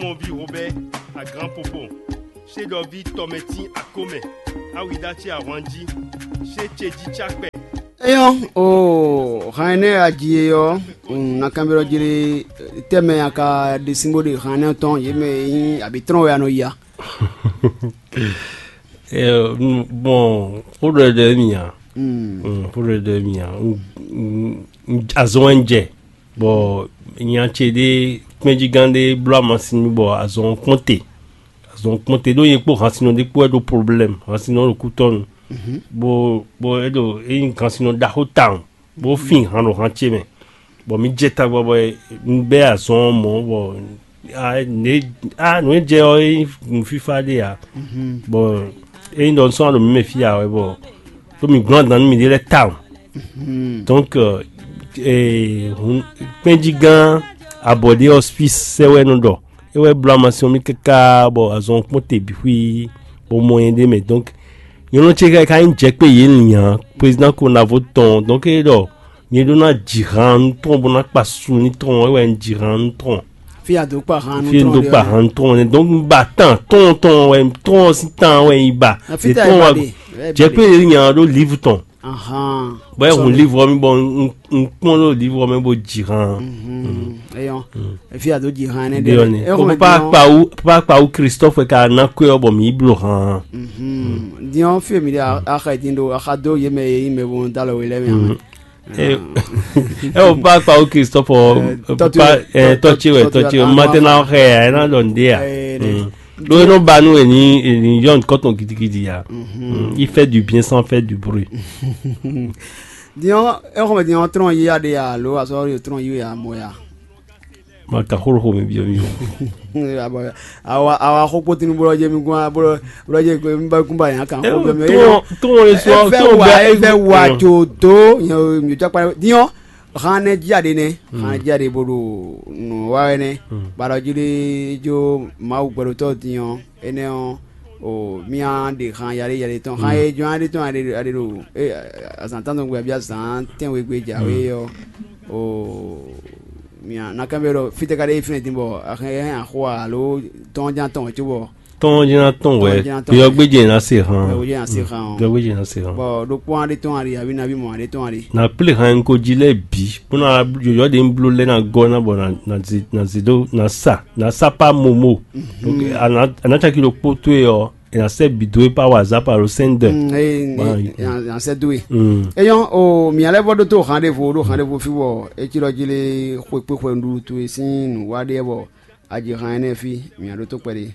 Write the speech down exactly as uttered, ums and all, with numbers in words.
Mɔvi Robert, a grand popo, chez Dovi Tometi à Comé, à Widati à Wandji, chez Tchédji Tchakpé. Eyɔn o han énɛ́ a ji e ɔ́, un ná kanbyɔ́ jí lé, tɛ́mɛ a ka ɖe sín bó ɖe han énɛ́ tɔn yě mɛ e nyí abǐ trɔ́n wɛ a nɔ ya? Bon, xó ɖɔ ɖɔ mì a? Xó ɖɔ ɖɔ mì a? Azɔn wɛ un jɛ, bɔ nya ce ɖé, kpɛ́njígán ɖé bló amasin nú mì bɔ azɔn ɔ́ kpɔ́n te. Azɔn ɔ́ kpɔ́n te ɖó nyɛ kpó hansinnɔ ɖé kpó wɛ ɖó problème, hansinnɔ ɖo kútɔ́nu, bó bó é ɖo é nyí hansinnɔ ɖaxó tawun, bó fin han ɖo han ce mɛ, bɔ mǐ jɛ tagbɔ bɔ un bɛ́ azɔn ɔ́ mɔ̌, bɔ nǔ e jɛ ɔ́ é nyí nǔfífá ɖé ǎ, bɔ é nyí ɖɔ un sɔ́ ɖo mǐ mɛ fí ǎ wɛ, bɔ ɖó mǐ gblɔ́n adǎn nú mǐɖée lɛ́ɛ tawun. Donc kpɛ́njígán abɔ̌ ɖé ɔ́ fí sɛ́ wɛ nɔ ɖɔ é wɛ bló amasin ɔ́ mì káká bɔ azɔn ɔ́ kpɔ́n te bǐ xwí, bó mɔ nyɛ ɖ'é mɛ. Donc nyɔ̌nu ce ka ka nyí jɛkpé yě lǐn ǎ, président Konavo tɔn. Donc é ɖɔ nyɛ ɖó ná ji han nú tɔn bó ná kpa su nú tɔn, é wɛ un ji han nú tɔn. Fí a dó kpa han nú fí e un dó kpa han nú tɔn nɛ. Donc un ba tán tɔn tɔn wɛ tɔn ɔ́ sín tán wɛ un yi ba. Fí ta tɔn ɛ ba ɖe? Jɛkpé yě lǐn ǎ ɖó livre tɔn. Bɔ é hun livre ɔ́ mì bɔ un kpɔ́n ɖo livre ɔ́ mɛ bó ji han. Eyɔn, efi ado ji han nɛ ɖe. Eko papa kpawu papa kpawu Christophe ka ná kwé ɔ́ bɔ mǐ yi bló han. Diɔn fi mi ɖe axa din ɖo axa dó yé mɛ yé mɛ bo da lɔ wé lɛ mɛ. Eko papa kpawu Christophe tɔtí wɛ tɔtí wɛ matɛ na xɛ ya ɛ na dɔ ndé ya. Ɖó é nɔ ba nú ènì ènì yɔn kɔtɔn gidigidi ya. Il fait du bien sans faire du bruit. Diɔn, exɔmɛ diɔn trɔn yi aɖe ya alo azɔ yo trɔn yi ya mɔ ya? Ma ka xó xó mi biɔ mi o. Awa awa xó kpótinu bolo jɛ mi gún bolo bolo jɛ mi ba kún ba yan kan xó biɔ mi. Tɔn tɔn le sɔ tɔn bɛ e fɛ wa tso do mi jɔ kpa diɔn. Xan nɛ jí aɖe nɛ xan jí aɖe bo ɖo nǔ wa wɛ nɛ. Ba ɖɔ jí ɖe jó Mawu gbɛɖotɔ́ din ɔ́ énɛ́ ɔ́, o mía ɖe xan yaɖé yaɖé tɔn xan e jɔn aɖe tɔn aɖe aɖe ɖo azǎn tɔn gbɛ bia zǎn tɛnwe gbe jǎwe ɔ́, o mía na kán bɛ ɖɔ fítɛ́ ka ɖe fínɛ din bɔ axɛ hɛn axɔ alo tɔn ján tɔn wɛ cóbɔ tɔn jɛ́n ná tɔn wɛ. Tɔn jɛ́n ná tɔn wɛ. Yɔgbéjɛ ná se hàn. Yɔgbéjɛ ná se hàn. Yɔgbéjɛ ná se hàn. Bɔ ɖokpó aɖe tɔn aɖe avi navi mɔ aɖe tɔn aɖe. Na plé han ko jí lɛ bǐ kpɔ́n na yɔyɔ ɖe ń bló lɛ na gɔ́ na bɔ na na zi na zi dó na sa na sa pa momo. Donc ana ana caki ɖokpó tó e ɔ ena sɛ bi dó e pa wa za pa lo sɛn dɛ. Yan sɛ dó e. Eyɔn o mia lɛ vɔ ɖó tó han ɖe vo ɖó han ɖe vo fi wɔ etsi lɔ jí lé xwe kpé xwe nɖuɖu tó e sín nǔ wa ɖe bɔ adzi han ɛnɛ fi mia ɖó tó kpɛɖé.